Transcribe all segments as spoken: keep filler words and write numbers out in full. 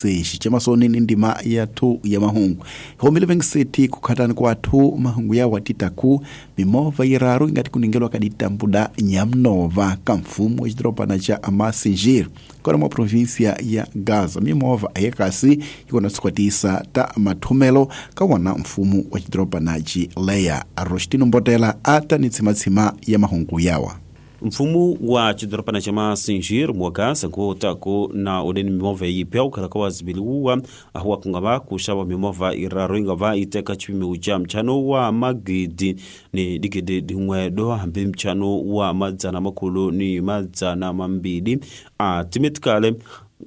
Sexi chamasoni ni ndima ya thu ya mahungu home Living City kukhatani kwathu mahungu ya watitaku mimovha yiraru ingati kuningelwa kaditambuda nyamnova ka mfumo wa xidorobana xa Massingir kona mwa provinsia ya Gaza. Mimovha ayekasi yikona sikwatisa ta mathumelo ka wona mfumo wa xidorobana xileya. Rostino Mbotela ata ni tsimatsima ya mahungu yawa. Mfumo wa xidorobana xa Massingir mwa Gaza ngutaku na uleni mimovha yipya ukhala ka wazibiliwa ahuwa kungava kuxava mimovha iraru ingava iteka xipimiwu xa mchano wa magidi ni digidi din'we do hambi mchano wa madzana makhulu ni madzana mambili a timetikale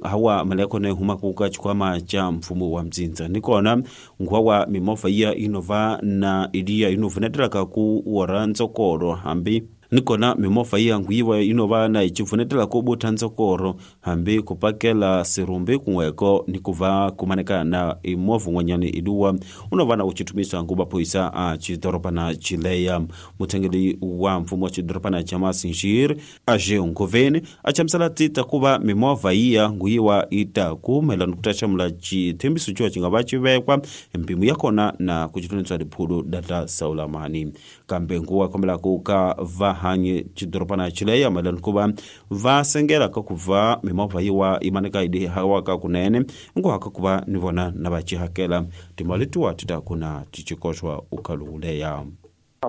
hawa mali yakona ihumaka ka xikhwama xa mfumo wa mdzindza. Nikona nguva wa mimovha iya inova na iliya inovunetela ku wora ntsokolo hambi nikona mimovha iya nguyiwa inova na icipfunetela ku butha ntsokoro hambi kupakela sirumbi kunweko nikuva kumaneka na imovha un'wanyana iluwa unova na ucithumisa nguva phoyisa a xidorobana xileya. Muthengeli wa mfumo wa xidorobana xa Massingir Aje Ngoveni a chamusela tita kuva mimovha iya nguyiwa ita ku mayelana ku ta xamula xithembiso xo xi nga va xi vekwa mpimo ya kona na ku cithunisa liphulu data saulamani kambe nguwa kombelaku ka va hanyi xidorobana xileya mayelana ku va va sengela ka ku va mimovha yiwa yi maneka yi hawaka kunene nguhaka ku va ni vona na va xihakela timali tiwa ti ta ku na ti xikoxwa ukhaluleya.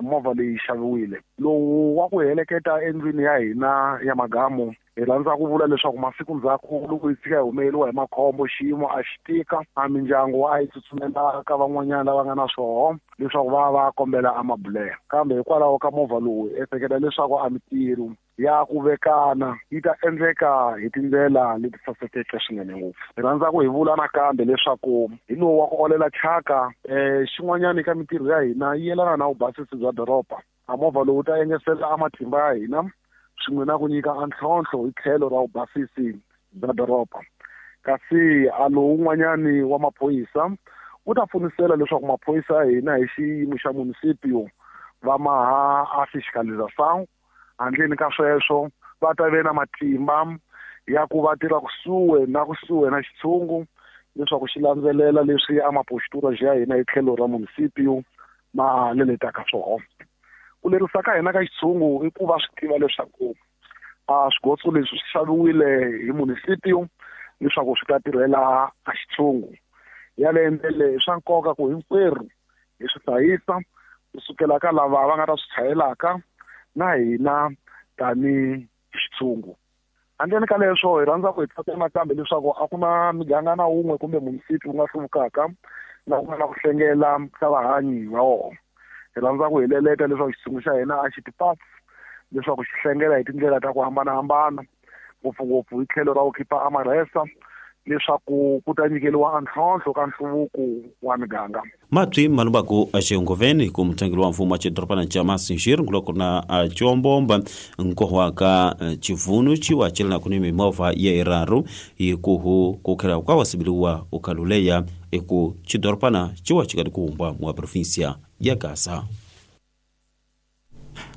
Movha leyi xaviwile lowu wa ku heleketa endlwini ya hina ya magamu hi rhandza ku vula leswaku masiku ndzhaku loko hi tshika hi humeleriwa hi makhombo xiyimo a xi tika a mindyangu a yi tsutsumela ka van'wanyana lava nga na swoho leswaku va va kombela amabulela kambe hikwalaho ka movha lowu ehleketa leswaku a mitirho ya ku vekana yi ta endleka hi tindlela leti sasekeke swinene ngopfu. Hi rhandza ku hi vula nakambe leswaku hi lowu wa ku olela thyaka um xin'wanyana ka mitirho ya hina yi yelana na vubasisi bya doroba. A movha lowu ta engetela a matimba ya hina swin'we na ku nyika a ntlhontlho hi tlhelo ra vubasisi bya doroba. Kasi a lowun'wanyani wa maphorisa wu ta pfunisela leswaku maphorisa ya hina hi xiyimo xa municipio va maha a fiscalização handleni ka sweswo va ta ve na matimba ya ku va tirha kusuhi na kusuhi na xitshungu leswaku xi landzelela leswi a mapostura ya hina hi tlhelo ra municipio ma leletaka swona. Ku lerisa ka hina ka xitshungu i ku va swi tiva leswaku a swigotso leswi swi xaviwile hi municipio leswaku swi ta tirhela a xitshungu. Yaleyo ndlela swa nkoka ku hinkwerhu hi swi hlayisa kusukela ka lava va nga ta swi chayelaka na hina tani xitshungu. Handleni ka leswo hi rhandza ku hi tsakela nakambe leswaku a ku na miganga na wun'we kumbe municipio wu nga hluvukaka na ku nga na ku hlengela ka vahanyi va wona. Hi rhandza ku hi leleta leswaku xitshungu xa hina a xi tipasi leswaku xi hlengela hi tindlela ta ku hambanahambana ngopfungopfu hi tlhelo ra ku khipa amarhesa leswaku ku ta nyikeriwa ntlhontlho ka nhluvuko wa miganga. Matwi malubaku axengoveni ku muthengeli wa mfumo wa xidorobana xa Massingir nguloko na combomba nkohwa ka xivunu xiwa celanaku ni mimovha ya iraru hikuhu ku khela kwa wasibiliwa ukhaluleya eku xidorobana xiwa xi kati kuhumba mwa provinsia ya Gaza.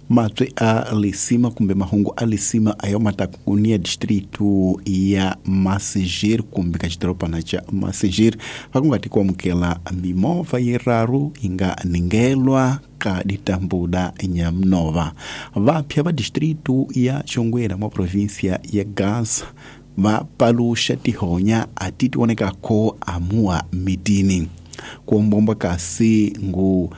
Matwi a lisima kumbe mahungu a lisima ayo matakunia distrito ya Massingir kumbe ka xidorobana xa Massingir vakungati kuamukela mimovha yiraru inga ningelwa ka ditambuda nyamnova. Vapya va distrito ya Xongwela mwa provinsia ya Gaza va paluxa tihonya ati tionekako amua mitini kuombomba kasi ngu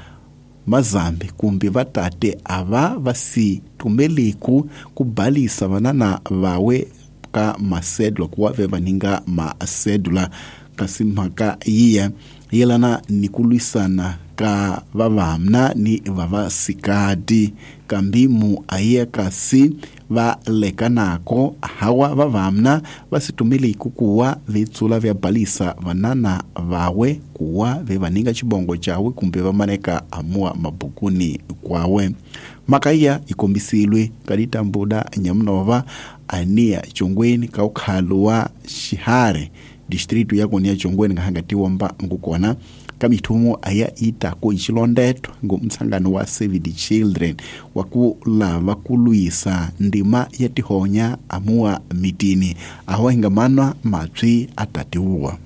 mazambi kumbe vatate ava vasi tumeliku kubalisa vanana vawe ka masedula kuwa ve vaninga masedula kasi mhaka yiya yelana ni kulwisana ka vavamna ni vavasikati kambimu aye kasi va lekanako hawa vavamna vasitumeliku kuwa vitsula vya balisa vanana vawe kuwa vevaninga chibongo chawe kumbe vamaneka amua mabukuni kwawe. Makaya ikombisilwe kaditambuda nyamnova ania chongweni kaukhaluwa xihare distrito yakonia chongweni ngahangatiwa mba ngukona kamithumo aya ita ku xilondeto ngumtsangano wa Save the Children wa ku lava ku lwisa ndima ya tihonya amua mitini aho hingamanwa matswi atatiwa.